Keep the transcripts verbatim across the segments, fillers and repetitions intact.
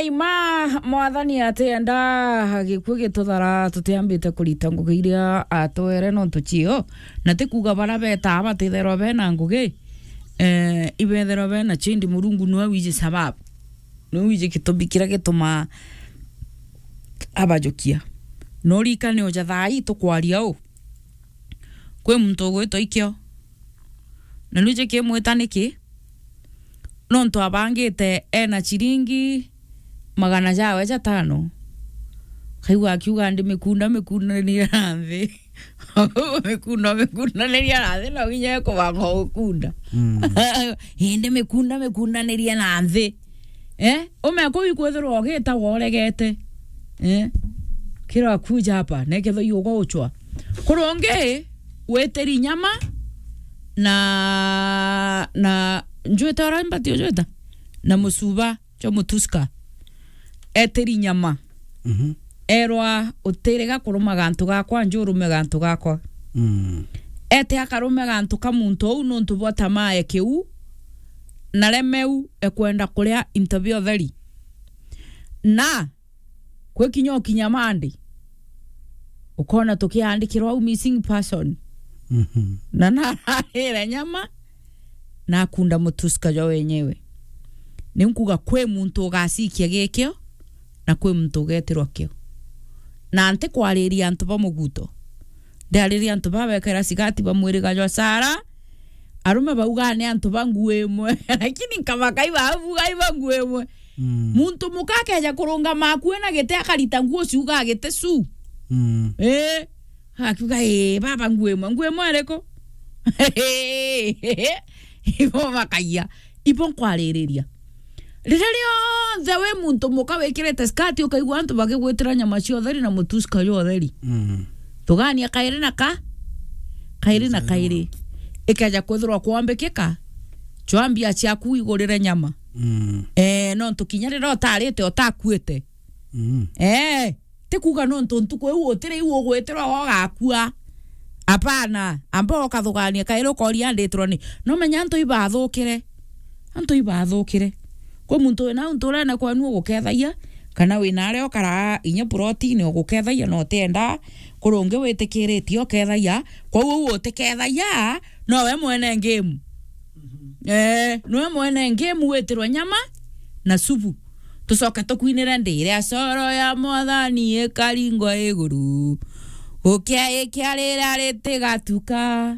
Ima, Mwathani atienda gikuu gituthara, tutiambite kurita ngugi iria atwere nontu cio, na ti kuuga bara betaa batitherwa bena ngugi, eh, ibetherwa bena cio, indi Murungu niwe wiji sababu, niwe wiji gitumi kiria gitumaa abajukia. No urikane uja thaa ii tukwaria uu, kwi muntu ugwitwa ikio. Na nuje kimwita niki? Nontu abangite ena ciringi magana jawe jatano. Kaigua akiuga, "Ndi mikunda, mikundaniria na nthi." Mikunda, mikundaniria na nthi, no nginya ekubanga gukunda. Mm. Indi mikunda, mikundaniria na nthi. Eh? Ume kuu ikwithirwa ugita woregete. Eh? Kira kuja hapa, neketho iuga uchwa. Kurungi, witiri nyama na, na njwita ura mbati ujwita? Na mucuba jwa mutuska. Etiri nyama. Mhm. Erwa, "Utiriga kuruma gantu gakwa, njurume gantu gakwa." Mm. Ete akarume gantu ka muntu uu nontu bwa tamaa ya kiu, na remeu ekwenda kuria into bia utheri. Na kwi kinya ukinya Monday, ukona tukiandikirwa au missing person. Mhm. Na nararire nyama, na akunda mutuska jwa wenyewe. Ni nkuga kwi muntu ugacikia gikio, na kwi muntu ugetirwa kio. Na ntikwariria antu ba muguto. Ndiariria antu babekera cigati ba mwiriga jwa Sara. Arume baugaa ni antu ba nguo imwe. Lakini nkabaka ibabuga iba nguo imwe. Mm. Muntu muka akeja kurungama akue na giti akarita nguo ciugaa giti cu. Mm. Eh, akiuga, "Eh, baba nguo imwe, nguo imwe iriku?" Ibo bakaia. Ibo nkwaririria. Riria rionthe wi muntu muka wikirite skati, ukaigua antu bakigwitira nyama cia utheri na mutuska jwa utheri. Mm. Tugania kairi na ka, kairi na kairi. Ikeja kwithirwa kwambikika, chwa mbia ciaku igurire nyama. Mm. Eh, nontu kinya riria utarite, utakuite. Mm. Eh, ti kuuga nontu ntuku iu utiri iu ugwitirwa ugakua. Apana, amba ukathugania kairi ukoria nditirwa ni. No menya antu ibathukire. Antu ibathukire. Kwi muntu wina untu urene kwenu ugukethagia, kana wina aria ukara inya plotini ugukethagia na utienda, kuri ungi witikiritie ukethagia, kwou uu utikethagia, nowe mwene game. Eh, nwe mwene ngemu witirwe nyama na subu. Tucoke tukwinire, "Ndiria coro ya Mwathani ikaringwa iguru. Gukia ikia riria ritigatuka.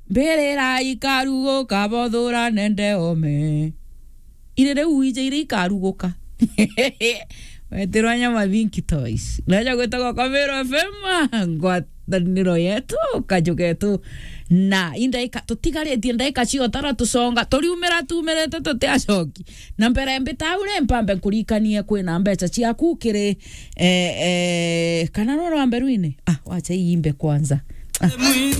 Mbirira ikaruguka, bothura nende ome." Iri riu ije iria ikaruguka. Wetirwa nyama Think Twice. Naja gwitagwa kwa Meru F M, ngwataniro yetu, kaju getu. Na indaika, tutigaritie ndaika ciotara tuconga, turiumira tumirite tutiacoki. Na mbere mbita au ri, mpambe nkurikanie kwina mbeca ciaku kiri, eh, eh, kana roro wa mberuine? Ah, wacha iimbe kwanza. Ah.